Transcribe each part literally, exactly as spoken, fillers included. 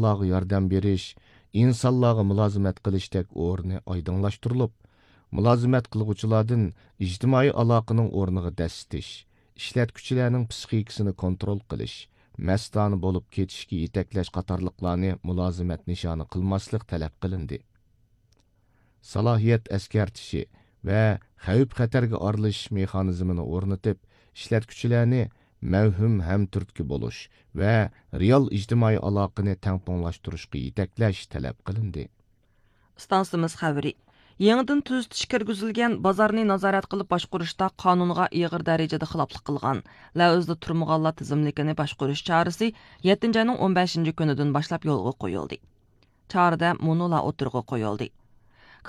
ئىنسانلارغا ياردەم بېرىش، ئىنسانلارغا مۇلازىمەت قىلىشتەك ئورنى ئايدىڭلاشتۇرۇلۇپ، مۇلازىمەت قىلغۇچىلاردىن ئىجتىمائىي ئالاقىنىڭ ئورنىغا دەسسىتىش، ئىشلەتكۈچىلەرنىڭ پسىخىكىسىنى كونترول قىلىش، مەستانە بولۇپ كېتىشكە يېتەكلەش قاتارلىقلارنى مۇلازىمەت نىشانى قىلماسلىق تەلەپ قىلىندى. سالاھىيەت ئەسكەرتىشى ۋە خەۋپ-خەتەرگە ئارىلىشىش مېخانىزمىنى ئورنىتىپ، ئىشلەتكۈچىلەرنى مەۋھۇم ھەمتۈرتكە بولۇش ۋە رېئال ئىجتىمائىي ئالاقىنى تەڭپۇڭلاشتۇرۇشقا يېتەكلەش تەلەپ قىلىندى. ئىستانسىمىز خەۋىرى. يېڭىدىن تۈزىتىش كىرگۈزۈلگەن بازارنى نازارەت قىلىپ باشقۇرۇشتا قانۇنغا ئېغىر دەرىجىدە خىلاپلىق قىلغان، لەۋزدە تۇرمىغانلار تىزىملىكىنى باشقۇرۇش چارىسى يەتتىنچى ئاينىڭ ئون بەشىنچى كۈنىدىن باشلاپ يولغا قويۇلدى. چارىدە مۇنۇلار ئوتتۇرىغا قويۇلدى.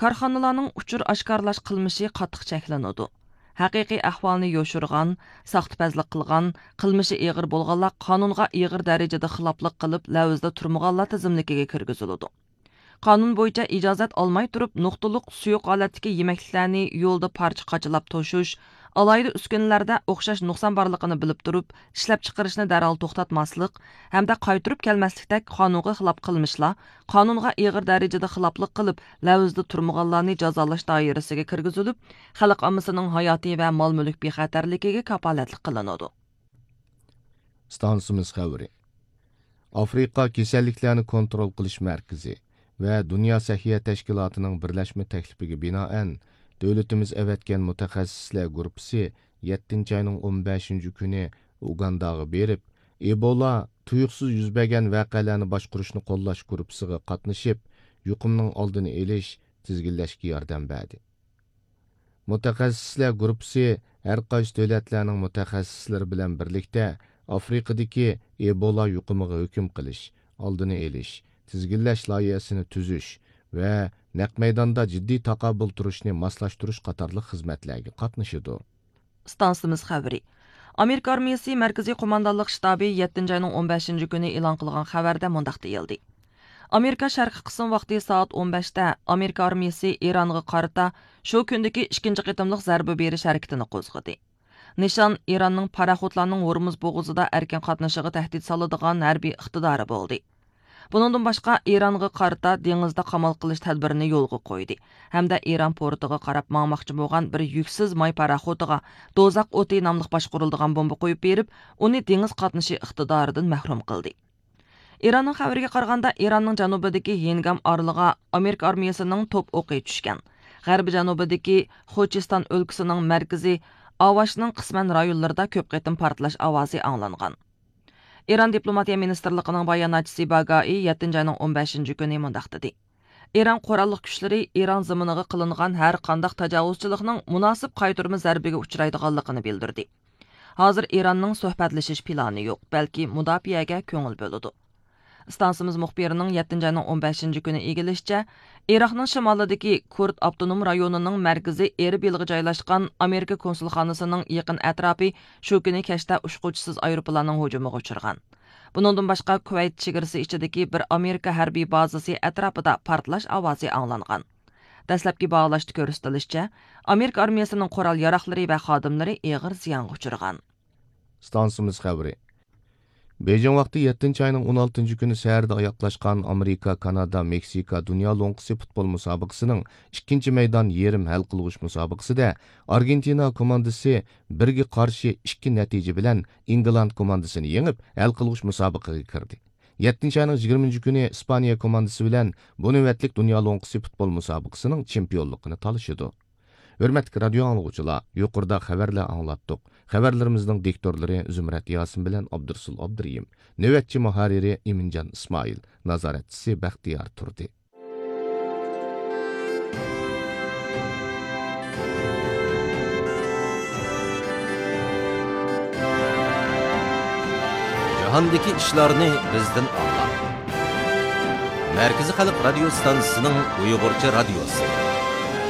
كارخانىلارنىڭ ئۇچۇر ئاشكارىلاش قىلمىشى قاتتىق چەكلىنىدۇ. ھەقىقىي ئەھۋالنى يوشۇرغان، ساختىپەزلىك قىلغان، قىلمىشى ئېغىر بولغانلار قانۇنغا ئېغىر دەرىجىدە خىلاپلىق قىلىپ، لەۋزدە تۇرمىغانلار تىزىملىكىگە كىرگۈزۈلىدۇ. قانۇن بويىچە ئىجازەت ئالماي تۇرۇپ، نۇقتىلىق سۇيۇق ھالەتتىكى يېمەكلىكلەرنى يولدا پارچە-قاچىلاپ توشۇش، ئالاھىدە ئۈسكۈنىلەردە ئوخشاش نۇقسان بارلىقىنى بىلىپ تۇرۇپ، ئىشلەپچىقىرىشنى دەرھال توختاتماسلىق ھەمدە قايتۇرۇپ كەلمەسلىكتەك قانۇنغا خىلاپ قىلمىشلار قانۇنغا ئېغىر دەرىجىدە خىلاپلىق قىلىپ، لەۋزدە تۇرمىغانلارنى جازالاش دائىرىسىگە كىرگۈزۈلۈپ، خەلق ئاممىسىنىڭ ھاياتى ۋە مال-مۈلۈك بىخەتەرلىكىگە كاپالەتلىك قىلىنىدۇ. ئىستانسىمىز خەۋىرى. ئافرىقا كېسەللىكلەرنى كونترول قىلىش مەركىزى ۋە دۇنيا سەھىيە تەشكىلاتىنىڭ بىرلەشمە تەكلىپىگە بىنائەن، دۆلىتىمىز ئەۋەتكەن مۇتەخەسسىسلەر گۇرۇپپىسى يەتتىنچى ئاينىڭ ئون بەشىنچى كۈنى ئۇگانداغا بېرىپ، ئېبولا تۇيۇقسىز يۈز بەرگەن ۋەقەلەرنى باشقۇرۇشنى قوللاش گۇرۇپپىسىغا قاتنىشىپ، يۇقۇمنىڭ ئالدىنى ئېلىش، تىزگىنلەشكە ياردەم بەردى. مۇتەخەسسىسلەر گۇرۇپپىسى ھەر قايسى دۆلەتلەرنىڭ مۇتەخەسسىسلىرى بىلەن بىرلىكتە ئافرىقىدىكى ئېبولا يۇقۇمىغا ھۆكۈم قىلىش، ئالدىنى ئېلىش، تىزگىنلەش لايىھەسىنى تۈزۈش ۋە نەق مەيداندا جىددىي تاقابىل تۇرۇشنى ماسلاشتۇرۇش قاتارلىق خىزمەتلەرگە قاتنىشىدۇ. ئىستانسىمىز خەۋىرى. ئامېرىكا ئارمىيىسى مەركىزىي قوماندانلىق شتابى يەتتىنچى ئاينىڭ ئون بەشىنچى كۈنى ئېلان قىلغان خەۋەردە مۇنداق دېيىلدى. ئامېرىكا شەرقىي قىسىم ۋاقتى سائەت ئون بەشتە ئامېرىكا ئارمىيىسى ئىرانغا قارىتا شۇ كۈندىكى ئىككىنچى قېتىملىق زەربە بېرىش ھەرىكىتىنى قوزغىدى. نىشان ئىراننىڭ پاراخوتلارنىڭ ھورمۇز بوغۇزىدا ئەركىن قاتنىشىغا تەھدىت سالىدىغان ھەربىي ئىقتىدارى بولدى. بۇنىڭدىن باشقا، ئىرانغا قارىتا دېڭىزدا قامال قىلىش تەدبىرىنى يولغا قويدى ھەمدە ئىران پورتىغا قاراپ ماڭماقچى بولغان بىر يۈكسىز ماي پاراخوتىغا دوزاخ ئوتى ناملىق باشقۇرۇلىدىغان بومبا قويۇپ بېرىپ، ئۇنى دېڭىز قاتنىشى ئىقتىدارىدىن مەھرۇم قىلدى. ئىراننىڭ خەۋىرىگە قارىغاندا، ئىراننىڭ جەنۇبىدىكى ھىنگام ئارىلىغا ئامېرىكا ئارمىيىسىنىڭ توپ ئوقى چۈشكەن. غەربىي جەنۇبىدىكى خوجىستان ئۆلكىسىنىڭ مەركىزى ئاۋاشنىڭ قىسمەن رايونلىرىدا كۆپ قېتىم پارتلاش ئاۋازى ئاڭلانغان. ئىران دىپلوماتىيە مىنىستىرلىقىنىڭ باياناتچىسى باگائى يەتتىنچى ئاينىڭ ئون بەشىنچى كۈنى مۇنداق دېدى: ئىران قوراللىق كۈچلىرى ئىران زېمىنىغا قىلىنغان ھەر قانداق تاجاۋۇزچىلىقنىڭ مۇناسىپ قايتۇرما زەربىگە ئۇچرايدىغانلىقىنى بىلدۈردى. ھازىر ئىراننىڭ سۆھبەتلىشىش پىلانى يوق، بەلكى مۇداپىئەگە كۆڭۈل بۆلىدۇ. ئىستانسىمىز مۇخبىرىنىڭ يەتتىنچى ئاينىڭ ئون بەشىنچى كۈنى ئىگىلىشىچە، ئىراقنىڭ شىمالىدىكى كۇرد ئاپتونوم رايونىنىڭ مەركىزى ئېربىلغا جايلاشقان ئامېرىكا كونسۇلخانىسىنىڭ يېقىن ئەتراپى شۇ كۈنى كەچتە ئۇچقۇچىسىز ئايروپىلاننىڭ ھۇجۇمىغا ئۇچرىغان. بۇنىڭدىن باشقا، كۇۋەيت چېگرىسى ئىچىدىكى بىر ئامېرىكا ھەربىي بازىسى ئەتراپىدا پارتلاش ئاۋازى ئاڭلانغان. دەسلەپكى باھالاشتا كۆرسىتىلىشىچە، ئامېرىكا ئارمىيىسىنىڭ قورال ياراغلىرى ۋە خادىملىرى ئېغىر زىيانغا ئۇچرىغان. ئىستانسىمىز خەۋىرى. بېيجىڭ ۋاقتى يەتتىنچى ئاينىڭ ئون ئالتىنچى كۈنى سەھەردە ئاياغلاشقان ئامېرىكا، كانادا، مېكسىكا دۇنيا لوڭقىسى پۇتبول مۇسابىقىسىنىڭ ئىككىنچى مەيدان يېرىم ھەل قىلغۇچ مۇسابىقىسىدە ئارگېنتىنا كوماندىسى بىرگە قارشى ئىككى نەتىجە بىلەن ئىنگلاند كوماندىسىنى يېڭىپ، ھەل قىلغۇچ مۇسابىقىگە كىردى. يەتتىنچى ئاينىڭ يىگىرمىنچى كۈنى ئىسپانىيە كوماندىسى بىلەن بۇ نۆۋەتلىك دۇنيا لوڭقىسى پۇتبول مۇسابىقىسىنىڭ چېمپىيونلۇقىنى تالىشىدۇ. ھۆرمەتلىك رادىيو ئاڭلىغۇچىلار، يۇقىرىدا خەۋەرلەر ئاڭلاتتۇق. خەۋەرلىرىمىزنىڭ دىكتورلىرى زۇمرەت ياسىن بىلەن ئابدۇرسۇل ئابدۇرېھىم. نۆۋەتچى مۇھەررىرى ئىمىنجان ئىسمائىل. نازارەتچىسى بەختىيار تۇردى. جاھاندىكى ئىشلارنى بىزدىن ئاڭلاڭ. مەركىزىي خەلق رادىيو ستانسىسىنىڭ ئۇيغۇرچە رادىيوسى.